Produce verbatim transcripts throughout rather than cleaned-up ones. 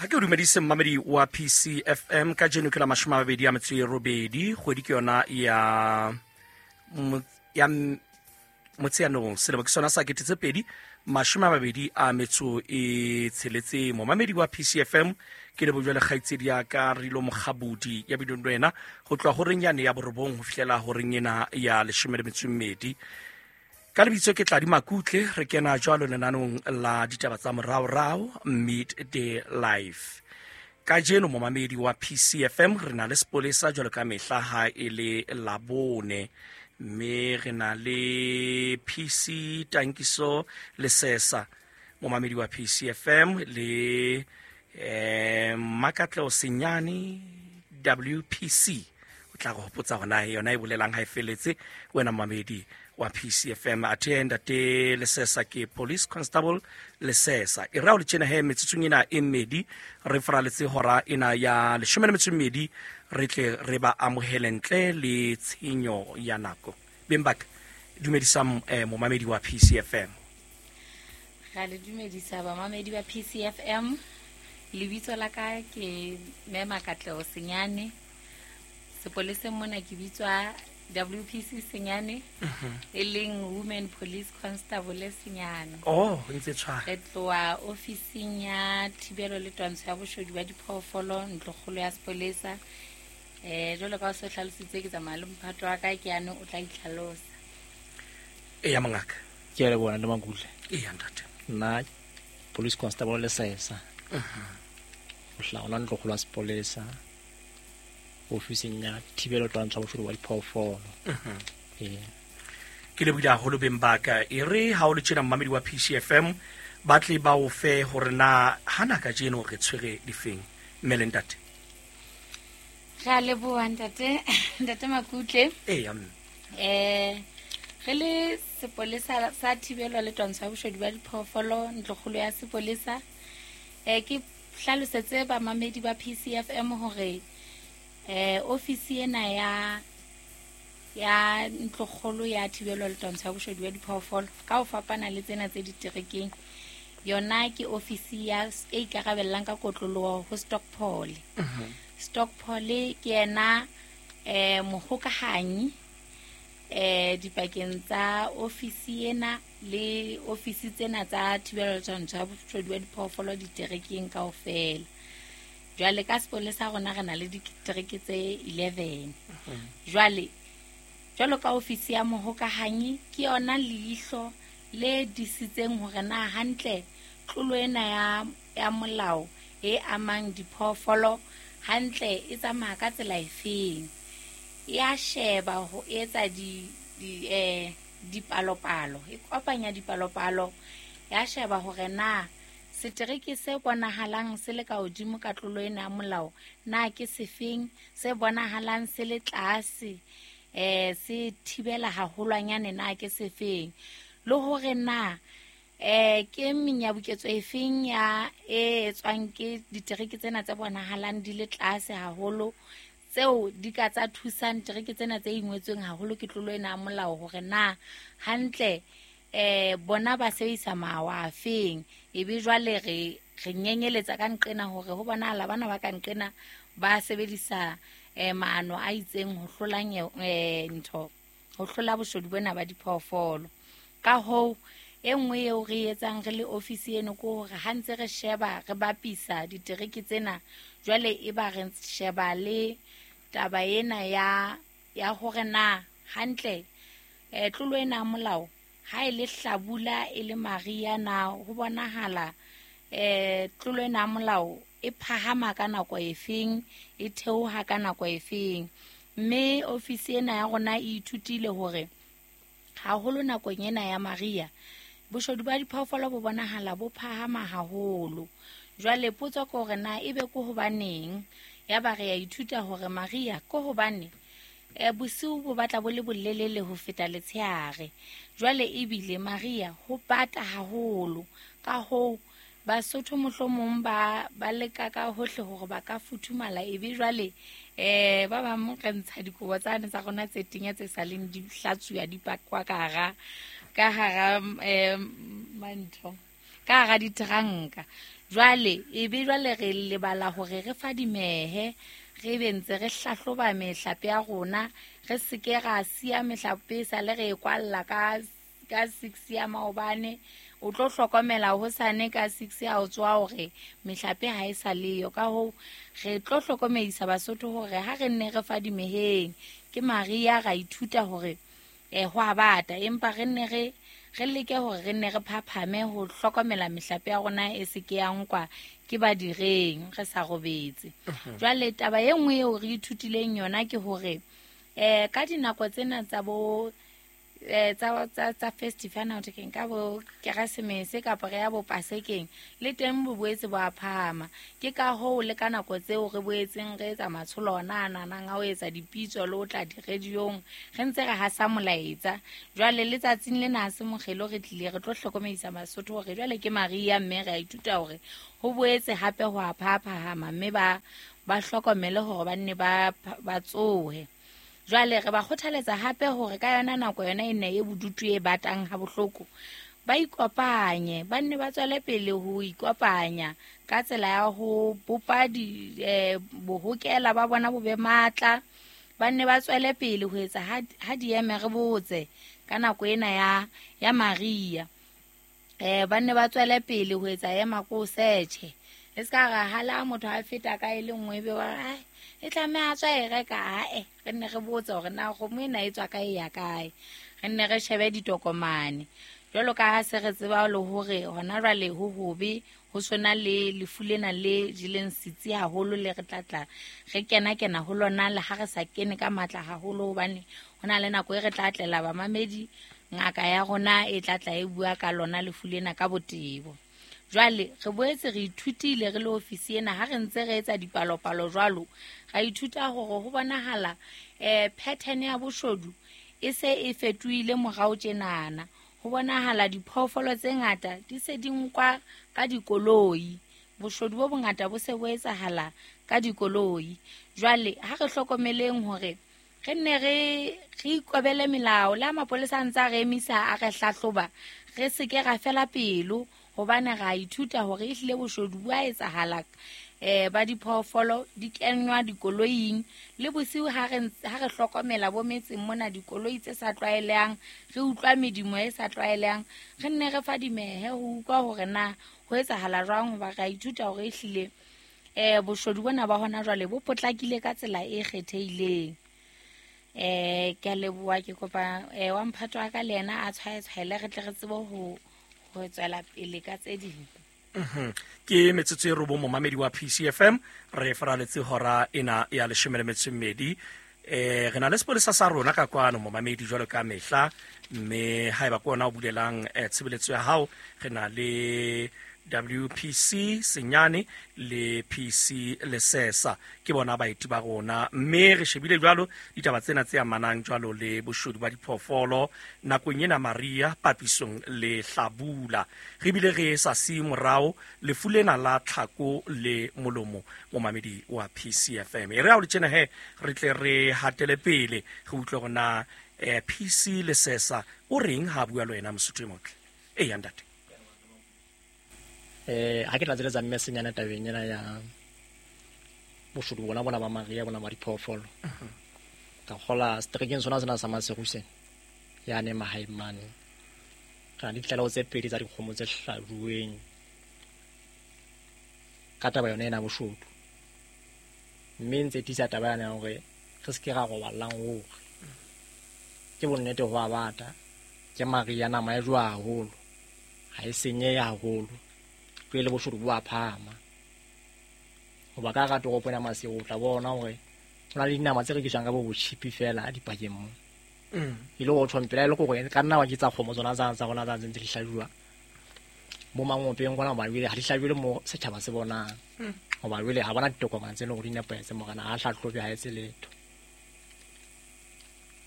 Ha ke o dumedise mmamedi wa P C F M ka jeno ke la mashome a mabedi a metso e robedi kgwedi ke yona ya ya Motsheanong selemo ke sona sa kete tse pedi mashome a mabedi a metso e tsheletseng. Momamedi wa P C F M ke le bojwale kgaitsedi ya ka Rilo Mokgabudi ya bidong wena ho tloha horeng yane ya borobong ho fihlela horeng ena ya leshome le metso e mmedi. Ka lebitso ke Tladi Makutle, re kena jwalo lenanong la ditaba tsa moraorao Midday Life. Kajeno momamedi wa P C F M re na le sepolesa jwalo ka mehla ha e le Labone, mme re na le P C Tankiso Lesesa momamedi wa P C F M le eh Makatleo Senyane W P C. O tla go hopotsa hona yona e bolelang ha e feletse wena momamedi wa P C F M. Athe ntate Lesesa ke Police Constable Lesesa. E ra o le tjena he metsotsong ena e mmedi re faraletse hora ena ya leshome le metso e mmedi re tle re ba amohele ntle le tshenyo ya nako. Beng ba ka dumedisa eh, momamedi wa P C F M. Ra le dumedisa bamamedi ba P C F M. Lebitso la ka ke Mema Katleo Senyane. Sepoleseng mona ke bitswa W P C Senyane, e leng Women Police Constable Senyane. Oh, ntse tshwana. Re tloha ofising ya thibelo le twantsho ya boshodu ba diphoofolo ntlokgolo ya sepolesa. Eh jwalo ka o se hlalositse ke tsamaya le mphato wa ka ke yane o tla itlhalosa. Eya mongaka. Ke a leboha le Makutle. Eya ntate. Nna Police Constable Lesesa. Ho hlaola ntlokgolo ya sepolesa ofising ya thibelo twantsho ya boshodu ba diphoofolo. Ee. Ke lebohile haholo beng ba ka. E re ha o le tjena mmamedi wa P C F M ba tle ba o fe hore na hana kajeno re tshwere difeng. Mme le ntate. Re a leboha ntate, ntate Makutle. Eya mme. Eh re le sepolesa sa thibelo le twantsho ya boshodu ba diphoofolo ntlokgolo ya sepolesa. Eh ke hlalosetse bamamedi ba P C F M hore eh ofisi ena ya ya ntlokgolo ya thibelo le twantsho ya boshodu ba diphoofolo ka ho fapana le tsena tse diterekeng yona ke ofisi ya e ikarabellang ka kotloloho ho Stockpole. Stockpole ke yena eh mohokahanyi eh dipakeng tsa ofisi ena le ofisi tsena tsa thibelo le twantsho ya boshodu ba diphoofolo diterekeng kaofela. Jwale ka sepolesa rona re na le ditereke tse eleven. Jwale jwalo ka ofisi ya mohokahanyi ke yona leihlo le disitseng hore na hantle tlolo ena ya ya molao e amang diphoofolo hantle e tsamaya ka tsela efeng. Ya sheba ho etsa di di eh dipalopalo, e kopanya dipalopalo, ya sheba hore na setereke se bonahalang se le ka hodimo ka tlolo ena ya molao na ke sefeng, se bonahalang se le tlase eh se thibela haholwanyane na ke sefeng, le hore na eh ke menyabuketso efeng ya e etswang ke ditereke tsena tse bonahalang di le tlase haholo tseo di ka tsa thusang tereke tsena tse ingwetsweng haholo ke tlolo ena ya molao hore na hantle eh bona ba sebedisa mawa afeng. Ebe jwale re re nyenyeletsa ka nqena hore ho bonahala bana ba ka nqena ba sebedisa eh maano a itseng ho hlola eh ntho ho hlola boshodu bona ba diphoofolo. Ka hoo e nngwe eo re etsang re le ofisi eno ke hore ha ntse re sheba re bapisa ditereke tsena jwale e ba re sheba le taba ena ya ya hore na hantle eh tlolo ena ya molao ha e le hlabula e le maria na ho bonahala eh tlolo ena ya molao e phahama ka nako efeng e theoha ka nako efeng. Mme ofisi ena ya rona e ithutile hore haholo nakong ena ya maria boshodu ba diphoofolo bo bonahala bo phahama haholo. Jwale potso ke hore na ebe ke hobaneng, ya ba re ya ithuta hore maria ke hobane eh bosiu bo batla bo le bolelele ho feta letshehare. Jwale ebile maria ho bata haholo, ka hoo Basotho mohlomong ba ba leka ka hohle hore ba ka futhumala ebe jwale eh ba bang re ntsha dikobo tsane tsa rona tse tenya tse saleng di hlatsuwa di pakwa ka hara ka hara eh mantho ka hara diteranka. Jwale e be jwale re lebala hore re fadimehe, re be ntse re hlahloba mehlape ya rona, re se ke ra siya mehlape sa le re e kwalla ka ka six ya maobane. O tlo hlokomela hosane ka six ya o tswa hore mehlape ha e sa leyo. Ka hoo re tlo hlokomedisa Basotho hore ha re nne re fadimeheng. Ke Maria ra ithuta hore eh ho a bata, empa re nne re re leke hore re nne re phaphame ho hlokomela mehlape ya rona e se ke ya nkwa ke badireng re sa robetse. Jwale taba e nngwe eo re ithutileng yona ke hore eh ka dinako tsena tsa bo eh tsa tsa tsa festival na ke nka bo Keresemese kapa re ya bo Pasekeng, le teng bo boetse bo a phahama. Ke ka hoo le ka nako tseo re boetseng re etsa matsholo ona a nanang a ho etsa dipitso le ho tla di-radiong, re ntse re hasa molaetsa. Jwale letsatsing lena ha se mokgelo, re tlile re tlo hlokomedisa Basotho hore jwale ke Maria, mme re a ithuta hore ho boetse hape ho a phaphahama, mme ba ba hlokomele hore ba nne ba ba tsohe. Jwale re ba kgothaletsa hape hore ka yona nako yona e ne e bodutu e batang ha bohloko, ba ikopanye, ba nne ba tswele pele ho ikopanya ka tsela ya ho bopa di eh, bohokela ba bona bo be matla. Ba nne ba tswele pele ho etsa ha ha di eme re botse ka nako ena ya ya Maria. Eh ba nne ba tswele pele ho etsa ema ko search. E ska ra hala motho a feta ka e le nngwe be wa ai e tlameha a tswa e reka, ae re nne re botse hore na kgomo ena e tswa kae ya kae, re nne re shebe ditokomane. Jwalo ka ha se re tseba le hore hona jwale ho hobe ho sona le lefu lena le jeleng setsi haholo, le re tlatla re kena kena ho lona le ha re sa kene ka matla haholo, hobane hona le nako e re tla tlela bamamedi ngaka ya rona e tlatla e bua ka lona lefu lena ka botebo. Jwale re boetse re ithutile re le ofisi ena ha re ntse re etsa dipalopalo jwalo, ra ithuta hore ho bonahala eh pattern ya boshodu e se e fetohile morao tjenana. Ho bonahala diphoofolo tse ngata di se di nkwa ka dikoloi, boshodu bo bongata bo se bo etsahala ka dikoloi. Jwale ha re hlokomeleng hore re nne re re ikobele melao, le ha mapolesa a ntse a re emisa a re hlahloba, re se ke ra fela pelo, hobane ra ithuta hore ehlile boshodu bo a etsahala eh ba diphoofolo di kenywa dikoloing. Le bosiu ha re ha re hlokomela bo metseng mona dikoloi tse sa tlwaelehang, re utlwa medumo e sa tlwaelehang, re nne re fadimehe ho utlwa hore na ho etsahala jwang, hoba ra ithuta hore ehlile eh boshodu bona ba hona jwale bo potlakile ka tsela e kgethehileng. Eh ke a leboha, ke kopa eh wa mphato wa ka le yena a tshwaetshwaele re tle re tsebe ho ho tswela pele ka tse ding. Ke metsotso e robong momamedi wa P C F M, re faraletse hora ena ya leshome le metso e mmedi. Eh re na le sepolesa sa rona ka kwano momamedi jwalo ka mehla, mme haeba ke ona o bulelang eh, tshebeletso ya hao, re na le W P C Senyane le P C Lesesa, ke bona baeti ba rona. Mme re shebile jwalo ditaba tsena tse amanang jwalo le boshodu ba diphoofolo nakong ena Maria papisong le hlabula. Re bile re sa siye morao lefu lena la tlhako le molomo momamedi wa P C F M. E re ha o le tjena he re tle re hatele pele re utlwe hore na eh, P C Lesesa o reng ha bua le wena Mosotho e motle. Eya ntate. Eh ha ke tla tseletsa mme Senyane tabeng ena ya boshodu bona bona ba Maria bona ba diphoofolo. Ka kgola seterekeng sona sena sa Maseru sena yane mahaeng mane, re na le ditlaleho tse pedi tsa dikgomo tse hlajuweng ka taba yona ena boshodu. Mme ntse tiisa taba yane ya hore re se ke ra roballang hore ke bonnete ho a bata, ke Maria nama e jowa haholo, ha e senyehe haholo, pele boshodu bo a phahama. Hoba ka hara toropo ena Maseru o tla bona hore ho na le dinama tse rekiswang ka bo botjhipi fela dipakeng mo. E le hore tjho mpela e le hore ka nna wa ke tsa kgomo tsona tsa tsa rona tsa ntse di hlajuwa mo mangopeng kwana, hoba jwale ha di hlajuwe mo setjhaba se bonang, hoba jwale ha bona ditokomane tse leng hore di nepahetse, morena ha hlahlobe ha etse letho.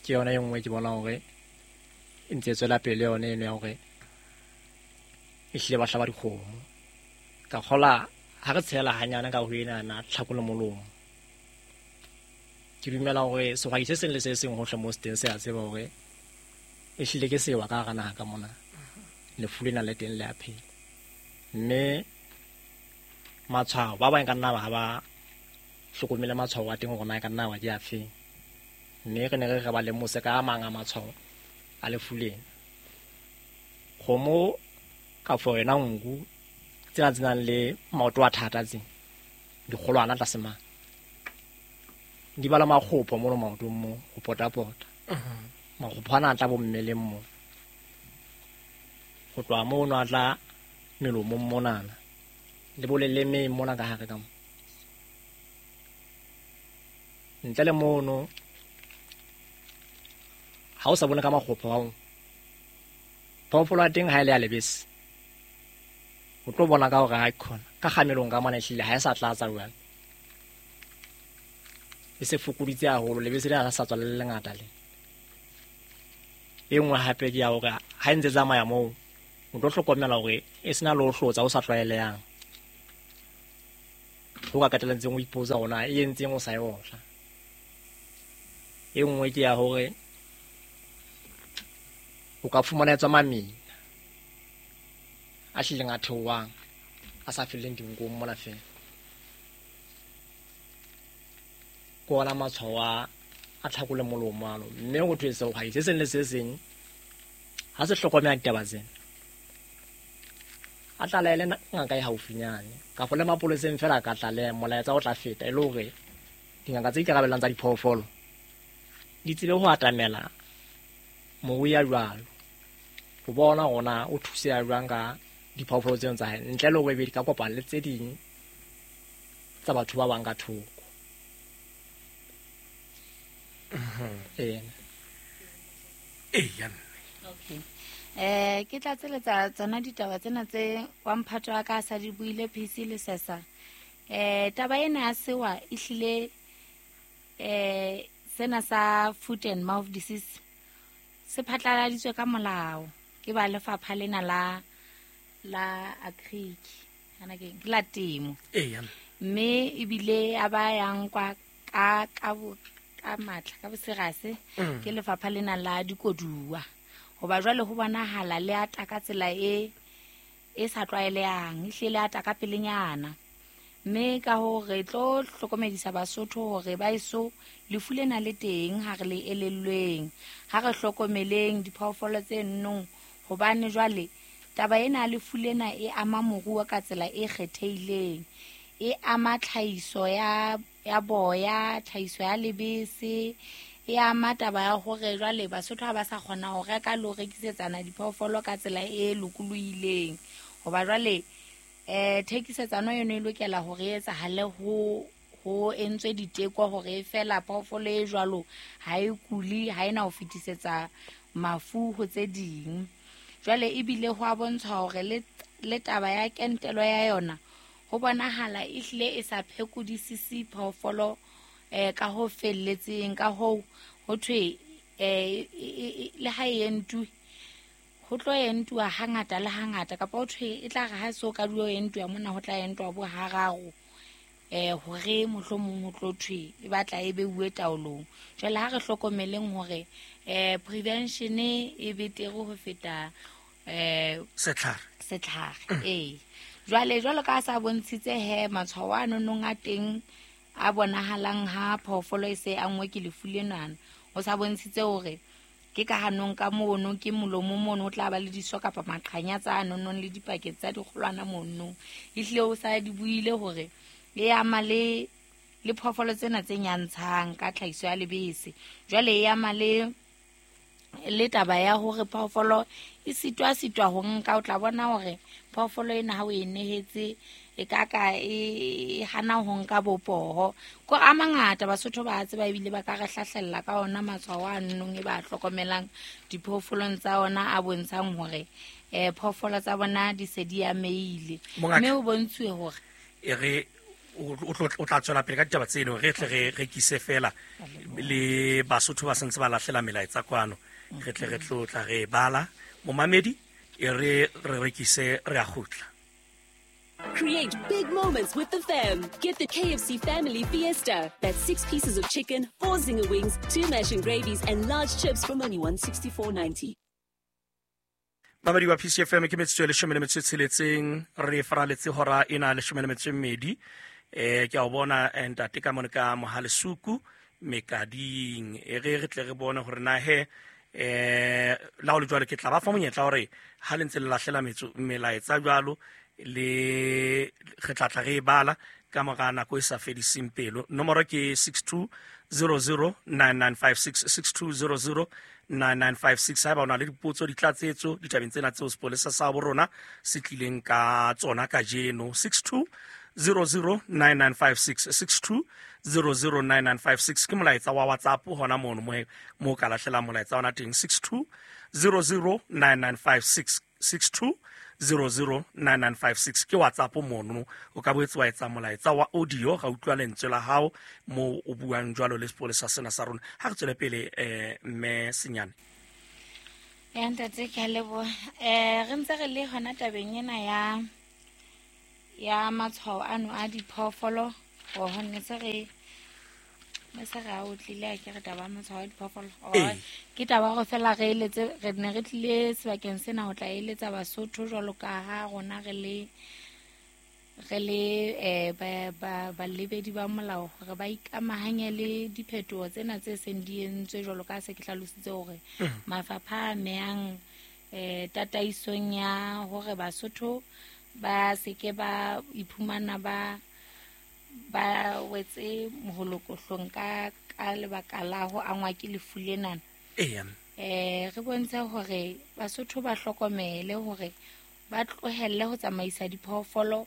Ke yona e nngwe ke bona hore e ntse e tswela pele yone eno ya hore ehlile ba hlaba dikgomo. Ka kgola ha re tshela hanyane ka ho ena na tlhako le molomo, ke dumela hore sehwai se seng le se seng hohle mo se teng se a tseba hore ehlile ke sewa ka hara naha ka mona, lefu lena le teng le a phela. Mme matshwao ba bang ka nna ba ha ba hlokomele matshwao a teng hore na e ka nna wa di afeng. Mme re ne re re ba lemose ka a mang a matshwao a lefu lena. Kgomo kafo yona nku tsena tse nang le maoto a thata tse dikgolwana tlase mane di bala makgopo mono maotong mo ho potapota. Makgopo ana a tla bo mmeleng mo, ho tloha mono a tla melomong monana le bo lelemeng mona ka hare ka mo. Ntle le mono ha o sa bone ka makgopo ao, phoofolo ya teng ha e le ya lebese o tlo bona ka hore ha e khona ka kgamelong ka mona ehlile ha e sa tlatsa jwale, e se fokoditse haholo, lebese lena ha sa tswa le le lengata le. E nngwe hape ke ya hore ha e ntse tsamaya moo o tlo hlokomela hore e sena le ho hlotsa o sa tlwaelehang, ho ka qetelletseng o ipotsa hore na e entseng o sa e otla. E nngwe ke ya hore o ka fumana e tswa mamina a hlileng a theohang a sa felleng dinkong mona feela. Ke ona matshwao a a tlhakole molomo ano. Mme ho thwe sehwai se seng le se seng ha se hlokomela ditaba tsena a tlalehe ngaka e haufinyane kafo le mapoleseng feela ka tlaleha, molaetsa o tla feta e le hore dingaka tse ikarabellang tsa diphoofolo di tsebe ho atamela morui ya jwalo ho bona hore na o thuseha jwang ka diphoofolo tseno tsa hae, ntle le hore ebe di ka kopana le tse ding tsa batho ba bang ka thoko. Ee. Eya mme. Okay. Eh ke tla tseletsa tsona ditaba tsena tse wa mphato wa ka a sa di buile P C le sesa. Eh taba ena ya sewa e hlile eh sena sa foot and mouth disease se phatlaladitswe ka molao ke ba lefapha lena la la agric ana ke ke la temo. Eya. Mme ebile a ba yang kwa ka ka bo ka matla ka boserase ke lefapha lena la dikoduwa. Hoba jwale ho bonahala le ata ka tsela e e sa tlwaelehang, ehlile le ata ka pelenyana. Mme ka hoo re tlo hlokomedisa Basotho hore ba eso lefu lena le teng ha re le elellweng, ha re hlokomeleng diphoofolo tse nnong, hobane jwale taba ena lefu lena e ama moruo ka tsela e kgethehileng, e ama tlhahiso ya ya boya, tlhahiso ya lebese, e ama taba ya hore jwale Basotho ha ba sa kgona ho reka le ho rekisetsana diphoofolo ka tsela e lokolohileng. Hoba jwale eh thekisetsano yona e lokela hore e etsahale ho ho entswe diteko hore feela phoofolo e jwalo ha e kuli, ha ena ho fetisetsa mafu ho tse ding. Jwale ebile ho a bontshwa hore le le taba ya kentelo ya yona ho bonahala ehlile e sa phekodisise phoofolo eh ka ho felletseng. Ka hoo ho thwe eh le ha e entwe ho tlo entuwa hangata le hangata, kapa ho thwe e tla re ha so ka duo entuwa mona ho tla entwa bo hararo eh hore mohlomong ho tlo thwe e batla e beuwe taolong. Jwale ha re hlokomeleng hore eh prevention e betere ho feta eh setlhare setlhare. Ee. Jwale jwalo ka sa bontshitse he matshwao a nonong a teng a bonahalang ha phoofolo e se angwe ke lefu lenana, o sa bontshitse hore ke ka hanong ka mono ke molomo mono o tla ba le diso kapa maqhanya tsa nonong le dipakete tsa dikgolwana mono. Ehlile o sa di buile hore e ama le le phoofolo tsena tse nyantshang ka tlhahiso ya lebese. Jwale e ama le le taba ya hore phoofolo e sitwa sitwa ho nka, o tla bona hore phoofolo ena ha o e nehetse e ka ka e hana ho nka bopoho. Ko a mangata Basotho ba tseba ebile ba ka re hlahlella ka ona matshwao a nnong e ba hlokomelang diphoofolong tsa ona a bontshang hore eh phoofolo tsa bona di se di ameile. Mme o bontshuwe hore e re o tla tswela pele ka ditaba tseno, re tle re rekise fela le Basotho ba sentse ba lahlela melaetsa kwano, re tle re tlo tla re bala momamedi e re re rekise re a kgutla. Create big moments with the fam. Get the K F C Family Fiesta. That's six pieces of chicken, four zinger wings, two mash and gravies, and large chips from only one sixty-four ninety. Mamedi wa P C F M ke metsotso e leshome le metso e tsheletseng, re faraletse hora ena leshome le metso e mmedi. Eh ke a o bona ntate ka mone ka Mohalesuku Mekading. E re re tle re bone hore na he eh la ho le jwalo ke tla ba fa monyetla hore ha le ntse le lahlela metso melaetsa jwalo le re tla tla re e bala ka mora nako e sa fediseng pelo. Nomoro ke six two zero zero nine nine five six, six two zero zero nine nine five six. Haeba o na le dipotso, ditlatsetso ditabeng tsena tseo sepolesa sa bo rona se tlileng ka tsona kajeno, six two zero zero nine nine five six, six two zero zero nine nine five six ke molaetsa wa WhatsApp hona mono mo mo ka lahlela molaetsa ona teng, six two zero zero nine nine five six, six two zero zero nine nine five six ke WhatsApp mono. O ka boetse wa etsa molaetsa wa audio ga utlwa lentswe la hao mo o buang jwalo le sepolesa sena sa rona. Ha re tswele pele eh mme Senyane. Ya ntate ke a leboha. Eh re ntse re le hona tabeng ena ya ya matshwao ano a diphoofolo, ho ne se re ne se re a utlwile a ke re taba matshwao a diphoofolo. Ke taba hore fela re eletse, re ne re tlile sebakeng sena ho tla eletsa Basotho jwalo ka ha rona re le re le eh ba ba balebedi ba molao hore ba ikamahanye le diphetoho tsena tse seng di entswe jwalo ka se ke hlalositse hore mafapha a mehang eh tataisong ya hore Basotho ba seke ba iphumana ba ba wetse moholokohlong ka ka lebaka la ho angwa ke lefu lena. Ee. Eh re bontshe hore Basotho ba hlokomele hore ba tlohelle ho tsamaisa diphoofolo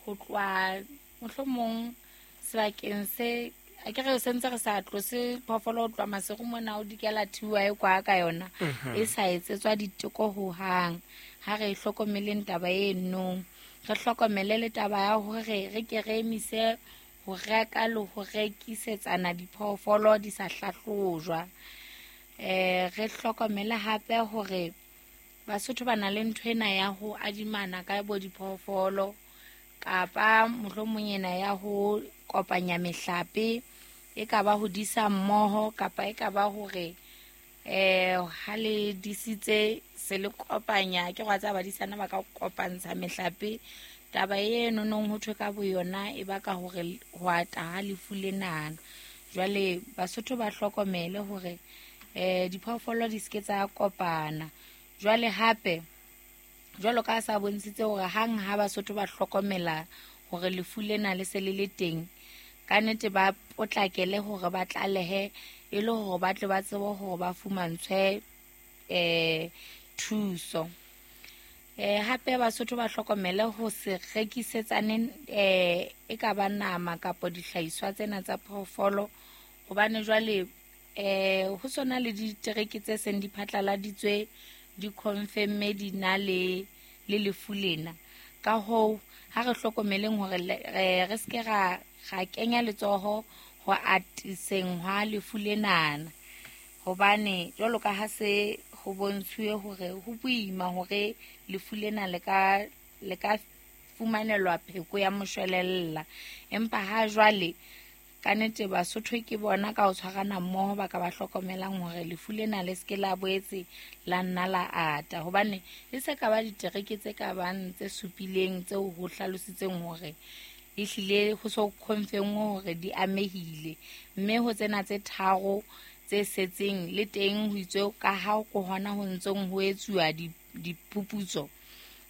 ho tloha mohlomong sebakeng se a ke re se ntse re sa tlose phoofolo ho tloha Maseru mona o dikela thiwa e kwa ka yona e sa etsetswa diteko ho hang. Ha re hlokomeleng taba eno, re hlokomele le taba ya hore re ke re emise ho reka le ho rekisetsana diphoofolo di sa hlahlojwa. Eh re hlokomele hape hore Basotho ba na le ntho ena ya ho adimana ka bo diphoofolo kapa mohlomong ena ya ho kopanya mehlape, e ka ba ho disa mmoho kapa e ka ba hore eh ha le disitse se le kopanya ke gwa tsa badisana ba ka kopantsha mehlape. Taba eno nong ho thwe ka boyona e baka hore ho ata ha lefu lenana. Jwale Basotho ba hlokomele hore eh diphoofolo di seke tsa kopana. Jwale hape jwalo ka sa bontshitse hore hang ha Basotho ba hlokomela hore lefu lena le se le le teng, ka nnete ba potlakele hore ba tlalehe e le hore ba tle ba tsebe hore ba fumantshwe eh thuso. Eh hape Basotho ba hlokomele ho se rekisetsane eh e ka ba nama kapa dihlahiswa tsena tsa phoofolo, hobane jwale eh ho sona le ditereke tse seng di phatlaladitswe di confirm di na le le lefu lena. Ka hoo ha re hlokomeleng hore re seke ra ra kenya letsoho ho atiseng hwa lefu lenana, hobane jwalo ka ha se ho bontshuwe hore ho boima hore lefu lena le ka le ka fumanelwa pheko ya moshwelella. Empa ha jwale ka nnete Basotho ke bona ka ho tshwarana mmoho ba ka ba hlokomelang hore lefu lena le seke la boetse la nna la ata, hobane e se ka ba ditereke tse ka bang tse supileng tseo ho hlalositseng hore ehlile ho so confirm hore di amehile, mme ho tsena tse tharo tse setseng le teng ho itswe ka ha ko hona ho ntsong ho etsuwa diphuputso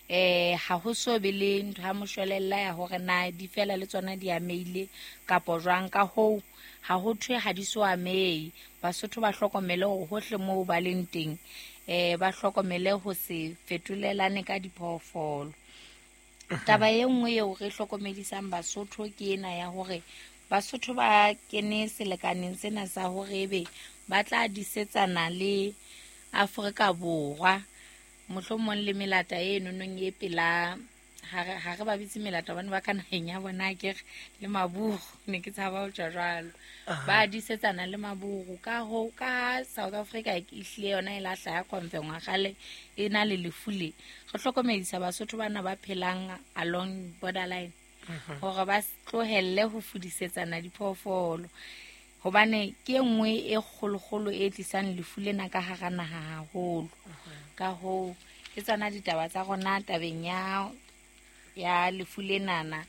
eh ha ho so be le ntho ya moshwelella ya hore na di fela le tsona di ameile kapo jwang. Ka hoo ha ho thwe ha di so amehe. Basotho ba hlokomele hore hohle moo ba leng teng eh ba hlokomele ho se fetolelane ka diphoofolo. Taba e nngwe eo re hlokomedisang Basotho ke ena ya hore Basotho ba kene selekaneng sena sa hore ebe ba tla disetsana le Afrika Borwa mohlomong le melata e nonong e pela ha re ba bitse melata hobane ba ka naheng ya bona ke re le maburu, ne ke tshaba ho tjho jwalo. Ba disetsana le maburu ka ho ka South Africa e hlile yona e lahla ya confirm kgale e na le lefu le. Re hlokomedisa Basotho bana ba phelang along borderline hore ba tlohelle ho fudisetsana diphoofolo, hobane ke e nngwe e kgolokgolo e tlisang lefu lena ka hara naha haholo. Ka hoo Ke tsona ditaba tsa rona tabeng ya ya lefu lenana,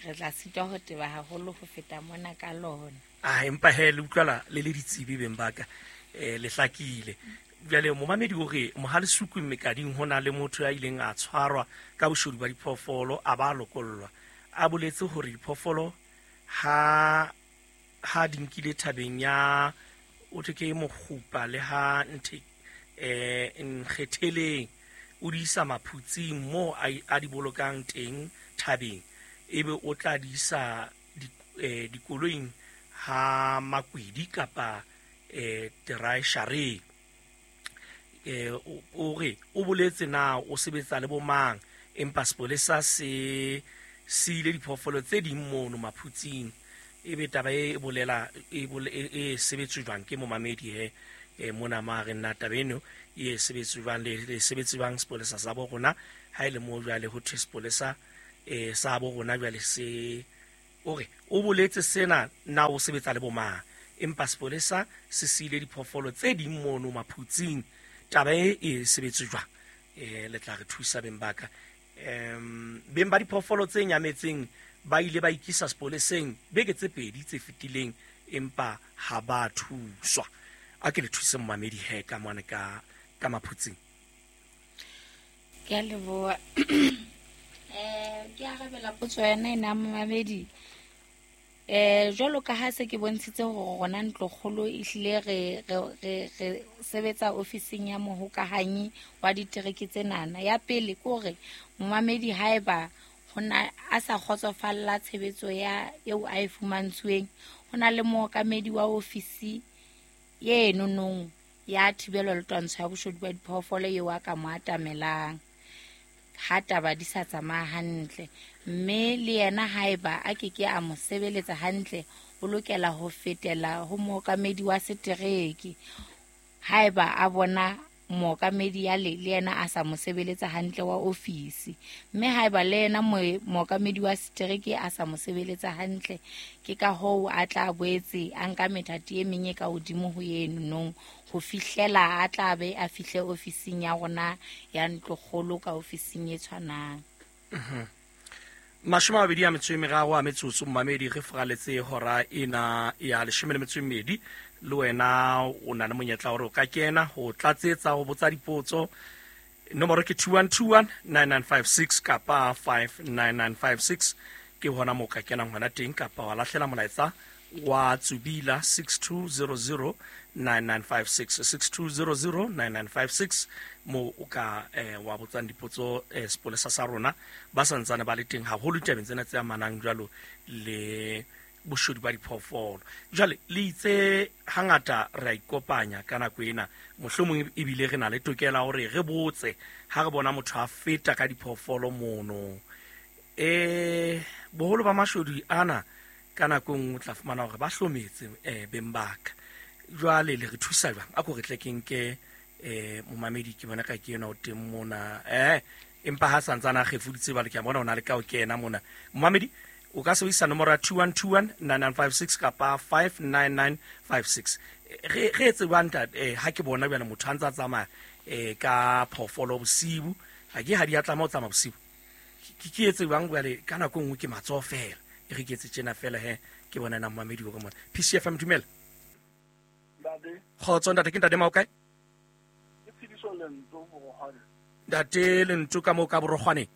re tla sitwa ho teba haholo ho feta mona ka lona. Ah, empa he le utlwala le le ditsebi beng ba ka, eh le hlakile. Jwale momamedi o re Mohalesuku Mekading ho na le motho ya ileng a tshwarwa ka boshodu ba diphoofolo a ba lokollwa. A boletse hore diphoofolo ha ha di nkile thabeng ya o thwe ke mokgupa le ha nthe eh nkgetheleng o di isa maphutsing mo a di bolokang teng thabeng, ebe o tla di isa dikoloing ha makwidi kapa eh teraeshareng. Eh o re o boletse na o sebetsa le bomang, empa sepolesa se se ile diphoofolo tse ding mono maphutsing. Ebe taba e bolela e e sebetswe jwang ke momamedi he e mona ma re nna taba eno e sebetswe jwang le le sebetse jwang sepolesa sa bo rona ha ile mo jwale ho thwe sepolesa e sa bo rona jwale se o re o boletse sena na o sebetsa le bomang, empa sepolesa se siile diphoofolo tse ding mono maphutsing. Taba e e sebetse jwang? Eh le tla re thusa beng ba ka. Em beng ba diphoofolo tse nyametseng ba ile ba ikisa sepoleseng beke tse pedi tse fetileng, empa ha ba thuswa. A ke le thuse momamedi he ka mone ka ka maphutsing. Ke a leboha. Eh ke arabela potso yena ena momamedi. Eh jwalo ka ha se ke bontshitse hore rona ntlokgolo ehlile re re re sebetsa ofising ya mohokahanyi wa ditereke tsenana. Ya pele ke hore momamedi haeba hona a sa kgotsofalla tshebetso ya eo a e fumantshweng, hona le mookamedi wa ofisi ye nonong ya thibelo le twantsho ya boshodu ba diphoofolo eo a ka mo atamelang ha taba di sa tsamaya hantle. Mme le yena haeba a ke ke a mo sebeletsa hantle, o lokela ho fetela ho mookamedi wa setereke. Haeba a bona mookamedi ya le le yena a sa mo sebeletsa hantle wa ofisi, mme haeba le yena mookamedi wa setereke a sa mo sebeletsa hantle, ke ka hoo a tla boetse a nka methati e meng e ka hodimo ho eno nong ho fihlela a tla be a fihle ofising ya rona ya ntlokgolo ka ofising e tshwanang. Mashome a mabedi a metso e meraro a metsotso momamedi, re furaletse hora ena ya leshome le metso e mmedi. Le wena o na le monyetla hore o ka kena ho tlatsetsa ho botsa dipotso. Nomoro ke two one two one nine nine five six kapa five nine nine five six, ke hona moo ka kenang hona teng, kapa wa lahlela molaetsa wa tsubila six two zero zero nine nine five six six two zero zero nine nine five six mo o ka eh, wa botsang dipotso eh, sepolesa sa rona ba santsane ba le teng haholo ditabeng tsena tse amanang jwalo le boshodu ba diphoofolo. Jwale le itse hangata re a ikopanya ka nako ena, mohlomong ebile re na le tokela hore re botse ha re bona motho a feta ka diphoofolo mono. Eh boholo ba mashodu ana ka nako nngwe o tla fumana hore ba hlometse eh beng ba ka. Jwale le re thusa jwang? A ko re tle ke nke eh momamedi ke bona ka ke yena o teng mona. Eh empa ha santsana a kgefuditse jwale ke a bona o na le ka o kena mona. Momamedi o ka sebedisa nomoro ya two one two one nine nine five six kapa five nine nine five six. Re re etse jwang ntate? Eh ha ke bona jwale motho a ntsa tsamaya eh ka phoofolo bosibu, ha ke ha di a tlameha ho tsamaya bosibu. Ke ke etse jwang jwale ka nako nngwe ke matsoho fela. E re ke etse tjena fela he ke bona na momamedi hore mona. P C F M dumela. Ntate. Kgotso ntate, ke ntate Mao kae? Ke Tshidiso Lento Borokgwane. Ntate Lento ka moo ka Borokgwane.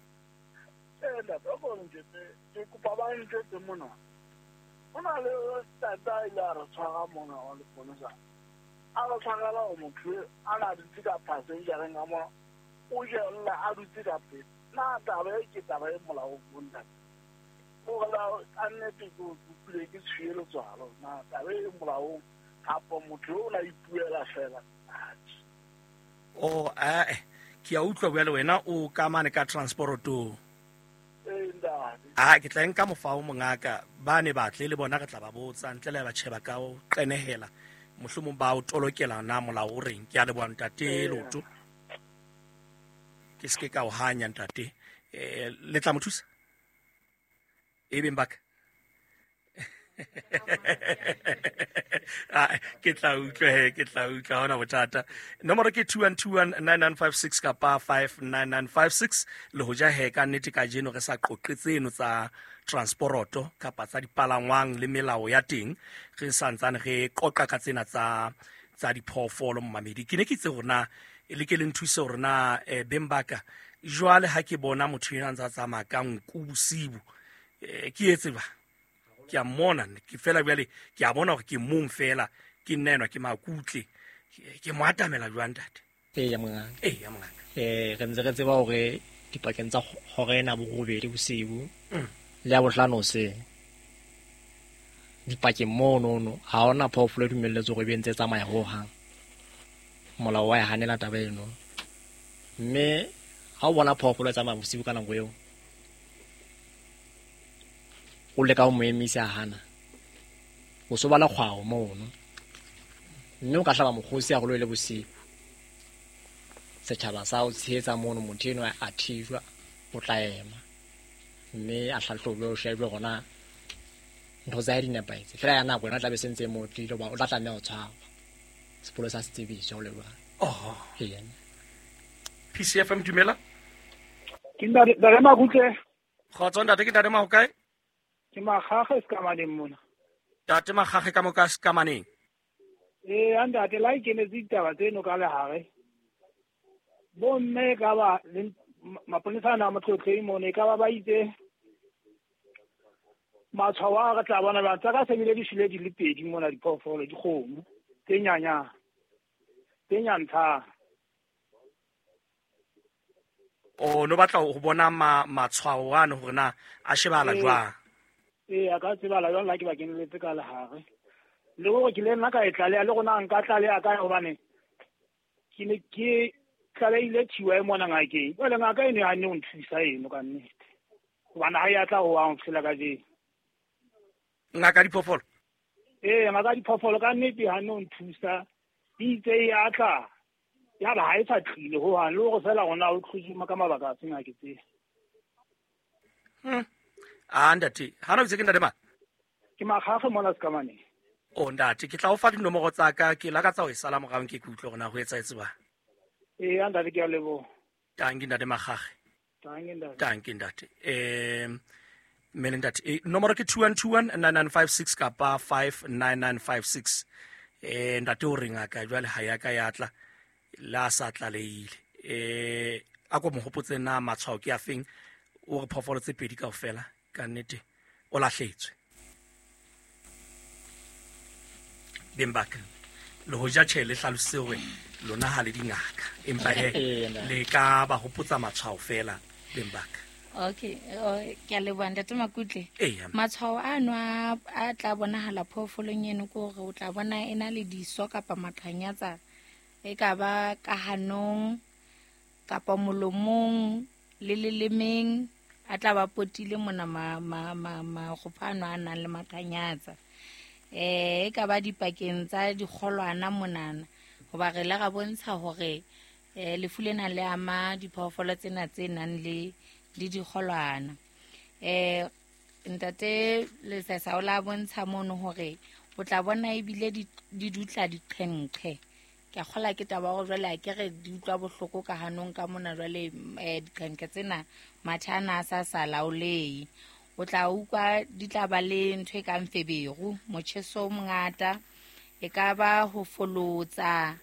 Eh ntate, o ko ntjetse, ke kopa ba ntjetse mona. Ho na le tata a ile a re tshwara mona wa leponesa. A re tshwarela hore motho a na dutse ka passengereng ka mona, o jella a dutse ka pele. Na taba e ke taba e molaong bo ntate? Hore la ka nnete ke utlwile ke tshuye letswalo. Na taba e molaong kapa motho o na ipuela fela? Oh, eh ke a utlwa bjale wena o ka mane ka transporto. Eh ntate. Ah, ke tla nka mofao mongaka ba ne batle le bona re tla ba botsa ntle le ba tjheba ka o qenehela mohlomong ba o tolokela na molao o reng. Ke a leboha ntate Loto. Ke ske ka o hanya ntate. Eh le tla mo thusa? E beng baka. Ah, ke tla utlwa he, ke tla utlwa, ha hona bothata. Nomoro ke two one two one nine nine five six kapa five nine nine five six. Le hoja he ka nnete kajeno re sa qoqe tseno tsa transporoto kapa tsa dipalangwang le melao ya teng, re santsane re qoqa ka tsena tsa tsa diphoofolo mmamedi. Ke ne ke itse hore na le ke le nthuse hore na eh, beng ba ka jwale ha ke bona motho ena a ntsa tsamaya ka nku bosibu, eh, ke etse ba ke a mmona, ke fela bjale ke a bona hore ke mong fela, ke nna enwa ke makutle, ke mo atamela jwang ntate? Ee, mongaka. Ee, mongaka. Eh, re ntse re tseba hore dipakeng tsa hora ena borobedi bosibu Mm. le ya bohlano hoseng, dipakeng monono ha hona phoofolo e dumelletswe hore e be ntse e tsamaya hohang. Molao wa e hanela taba eno. Mme ha o bona phoofolo e tsamaya bosiu ka nako eo, o leka ho mo emisa a hana, o so ba le kgwao mono. Mme o ka hlaba mokgosi haholo e le bosiu, setjhaba sa o tshehetsa mono, motho enwa a thijwa, o tla ema mme a hlahlojwe, o shejwe hore na ntho tsa hae di nepahetse. Feela ya nako yona e tla be se ntse e mo tlile, hoba o tla tlameha ho tshwarwa. Sepolesa se tsebiswe ho le jwalo. Oho. Ee. P C F M, dumela. Ke ntate, ntate Makutle. Kgotso ntate, ke ntate Mahokae? Ke Makgakge Sekamaneng mona. Ntate Makgakge ka mo ka Sekamaneng. Ee, ntate, la ikenetse ditaba tseno ka lehare. Bomme ka ba le maponesa ana a Motlotleng mona, e ka ba ba itse matshwao a re tla bona jwang. Tsa ka se bile di shwele di le pedi mona, diphoofolo, dikgomo tse nyanyang, tse nyantshang. O no batla ho bona ma-, matshwao ano hore na a shebahala Ee. jwang? Ee, a ka tsebala jwang la ke ba keneletse ka lehare. Le hore ke le nna ka e tlaleha, le rona nka tlaleha kae, hobane ke ne ke tlalehile thiwa e mona ngakeng. Jwale ngaka e ne hanne ho nthusa eno ka nnete, hobane ha e a tla ho hang ho fihlela kajeno. Ngaka diphoofolo? Ee, ngaka diphoofolo ka nnete e hanne ho nthusa. E itse e a tla, ya ba ha e sa tlile ho hang, le hore feela rona o tloswe ka mabaka a seng a ke tsebe. Hmm. Ah, ntate, ha na o itse ke ntate mang? Ke Makgakge mona Sekamaneng. Oh, ntate, ke tla o fa dinomoro tsa ka, ke lakatsa ho e sala morao nke ke utlwe hore na ho etsahetse jwang. Ee, ntate, ke a leboha. Tanki ntate Makgakge. Tanki ntate. Tanki ntate. Eh, mme le ntate, eh, nomoro ke two one two one nine nine five six kapa five nine nine five six. Eh, ntate o re ngaka jwale ha ya ka ya tla, la sa tlalehile. Eh, a ko mo hopotse na matshwao ke a feng, o re phoofolo tse pedi kaofela ka nnete o lahletswe. Beng ba ka, le hoja tjhe le hlalositse hore lona ha le dingaka, empa he, Ee, nna. le ka ba hopotsa matshwao fela beng ba ka. Okay, oh, ke a leboha ntate Makutle. Ee, ya. Matshwao ano a, a tla bonahala phoofolong eno ke hore o tla bona e na le diso kapa maqhanyatsa, e ka ba ka hanong kapa molomong le lelemeng, a tla ba potile mona ma, ma, ma, makgopho ano a nang le maqhanyatsa. Eh, e ka ba dipakeng tsa dikgolwana monana, hoba re ile ra bontsha hore, eh, lefu lena le ama diphoofolo tsena tse nang le, le dikgolwana. Eh, ntate Lesesa o la bontsha mono hore o tla bona ebile di, di dutla diqhenqhe. Ke a kgola ke taba hore jwale ha ke re di utlwa bohloko ka hanong ka mona jwale, eh, diqhenqhe tsena mathe ana a sa sa laolehe. O tla utlwa di tla ba le ntho e kang feberu, motjheso o mongata, e ka ba ho folotsa,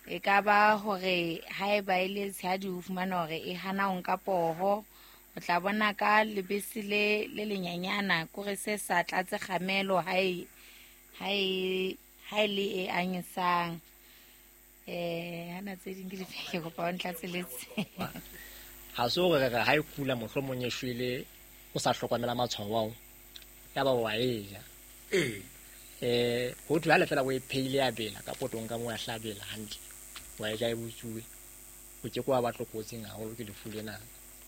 e ka ba hore haeba e le tshehadi o fumana hore e hana ho nka poho. O tla bona ka lebese le, le lenyenyana, kore se sa tlatse kgamelo ha e, ha e, ha e le e anyesang. Eh, hana tse ding ke di fe, ke kopa o ntlatseletse. Ha se hore re re ha e kula mohlomong e shwele, o sa hlokomela matshwao ao, ya ba wa e ja. Ee. Eh, ho thwe ha le fela o e pheile ya bela, ka potong ka moo ya hlabela hantle, wa e ja e butsuwe, o ke ke wa ba tlokotsing haholo ke lefu lena.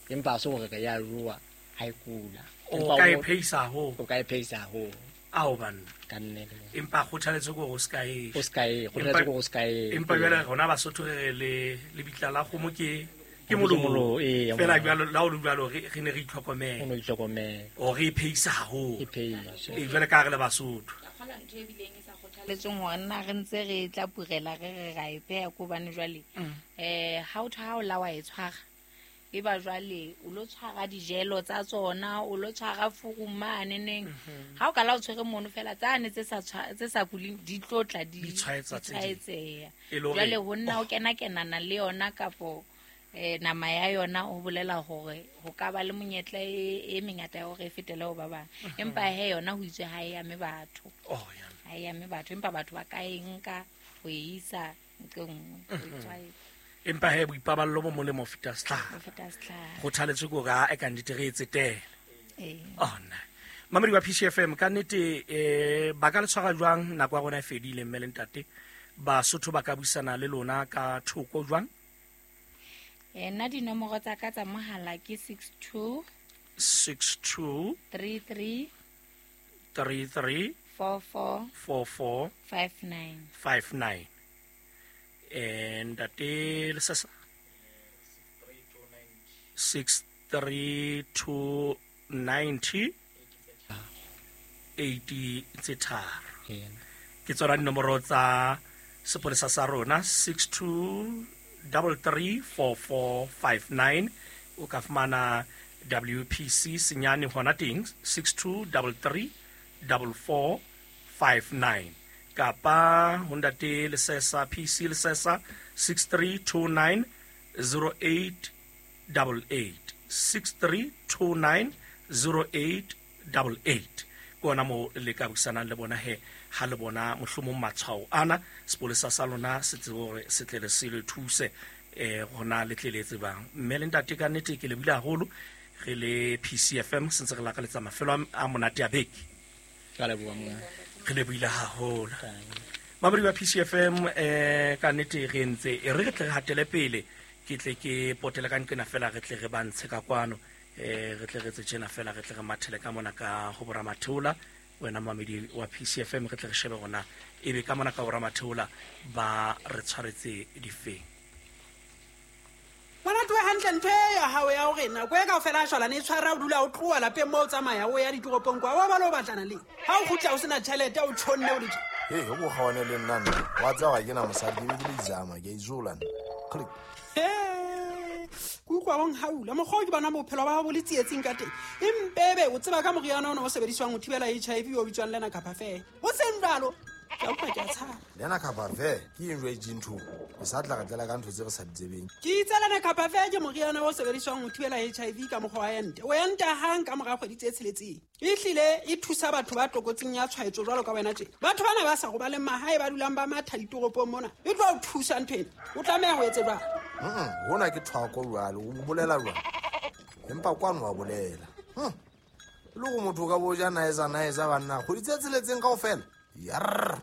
Empa ha se hore re ya jowa ha e kula. O Empa ka e o pheisa haholo. O ka e pheisa haholo. Ao banna. Ka nnete. Empa kgothaletso ke hore o se ka e O se ka e, kgothaletso ke hore o se ka e. Empa jwale rona Basotho re re le, lebitla la kgomo ke Ke molomo ee, fela jwalo la o le jwalo re re ne re itlhokomela. O no itlhokomela. O re iphehisa haholo. E phehisa. E jwale ka re le Basotho. Ka kgola ntho e bileng e sa kgothaletsweng hore nna re ntse re tla purela re re ra e pheha ko hobane jwale eh ha o tha o la wa e tshwara e ba jwale o lo tshwara dijelo tsa tsona o lo tshwara furumane neng ha o ka la o tshwere mono fela tsane tse sa tse sa kuleng di tlotla di Di tshwaetsa tse ding. tshwaetseha. E le hore- Jwale ho nna o kena kenana le yona kapo eh nama ya yona o bolela hore ho ka ba le monyetla e e mengata ya hore e fetele ho ba bang empa he yona ho itswe ha e ame batho. Oh ya. Ha e ame batho empa batho ba ka e nka ho e isa nqe nngwe ho e tshwaetsa. Empa he boipaballo bo molemo ho feta setlhare. Ho feta setlhare. Kgothaletso ke hore ha e ka nnete re e tsetele. Ee. Oh nna. Mamedi wa P C F M ka nnete eh ba ka le tshwara jwang nako ya rona e fedile mme le ntate Basotho ba ka buisana le lona ka thoko jwang? Eh nna dinomoro tsa ka tsa mohala ke six two six two three three three three four four four four five nine five nine. Eh ntate Lesesa six three two ninety eighty tse tharo. Ke tsona dinomoro tsa sepolesa sa rona six two double three four four five nine. O ka fumana W P C senyane hona teng six two double three double four five nine kapa ho ntate Lesesa P C Lesesa six three two nine zero eight double eight six three two nine zero eight double eight. Ke ona mo le ka buisanang le bona he ha le bona mohlomong matshwao ana sepolesa sa lona se tsebe hore se tle le se le thuse eh hona le tle le tsebang. Mme le ntate ka nnete ke le buile haholo re le P C F M se ntse re lakaletsa mafelo a monate a beke. Ka leboha monga. Re le buile haholo. Mamedi wa P C F M eh ka nnete re ntse e re re tle re hatele pele ke tle ke potele ka nqena fela re tle re ba ntshe ka kwano eh re tle re tse tjena fela re tle re mathele ka mona ka ho boramatheola wena mamedi wa P C F M re tle re shebe rona ebe ka mona ka boramatheola ba re tshwaretse difeng. Ngwana tlohe hantle ntho e ya hao ya hore nako e kaofela a shwalane e tshwara o dula o tloha lapeng moo o tsamaya o ya ditoropong kwa wa ba lo batlana le ha o kgutla o sena tjhelete o tjhonne o le tje. Hey, ho go kgawane le nna nna. Wa tseba ga ke na mosadi ke be ke le izama ke a izola nna. Click. He, ke utlwa o nhaula mokgwa o ke bona bophelo ba hao bo le tsietsing ka teng. Empebe o tseba ka moriana ona o sebediswang ho thibela H I V o bitswang Lena Capafe. Ho seng jwalo ke a utlwa ke a tshaba. Lena Capafe ke eng jwa ntho? O sa tla re tlela ka ntho tse re sa di tsebeng. Ke itse Lena Capafe ke moriana o sebediswang ho thibela H I V ka mokgwa wa ente. O enta hang ka mora kgwedi tse tsheletseng. Ehlile e thusa batho ba tlokotsing ya tshwaetso jwalo ka wena tje. Batho bana ba sa robaleng mahae ba dulang ba matha ditoropong mona. E tlo o thusa ntho ena. O tlameha ho etse jwang? Mm, hona ke thwako jwalo, o bolela jwang? Empa kwano wa bolela. Hm. Le go motho ka boja naeza naeza banna kgwedi tse tsheletseng kaofela. Yarr.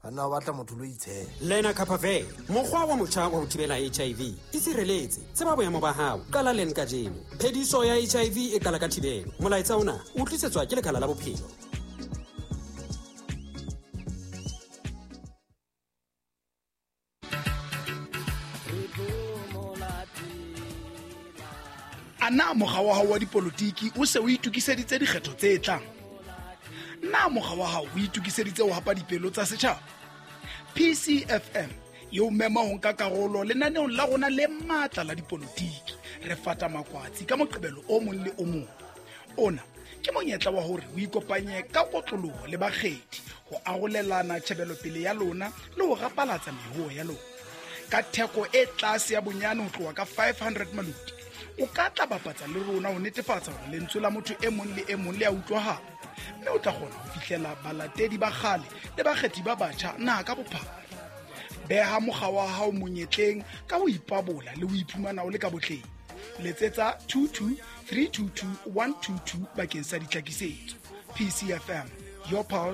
Banna ba batla motho lo itshela. Lena Capafe, mokgwa wa motjha wa ho thibela H I V. Itshireletse, tseba boemo ba hao, qala leng kajeno. Phediso ya H I V e qala ka thibelo. Molaetsa ona o tlisetswa ke Lekala la Bophelo. A na mokga wa hao wa dipolotiki o se o itokiseditse dikgetho tse tlang? Na mokga wa hao o itokiseditse ho hapa dipelo tsa setjhaba? P C F M e o mema ho nka karolo lenaneong la rona le matla la dipolotiki. Re fata makwatsi ka Moqebelo o mong le o mong. Ona ke monyetla wa hore o ikopanye ka kotloloho le bakgethi ho arolelana tjhebelopele ya lona le ho rapalatsa mehoo ya lona. Ka theko e tlase ya bonyane ho tloha ka five hundred maluti, o ka tla bapatsa le rona ho netefatsa hore lentswe la motho e mong le e mong le a utlwahala, mme o tla kgona ho fihlela balatedi ba kgale le bakgethi ba batjha naha ka bophara. Beha mokga wa hao monyetleng ka ho ipabola le ho iphumana o le ka botleng. Letsetsa two two three two two one two two bakeng sa ditlhakisetso. P C F M, your pulse.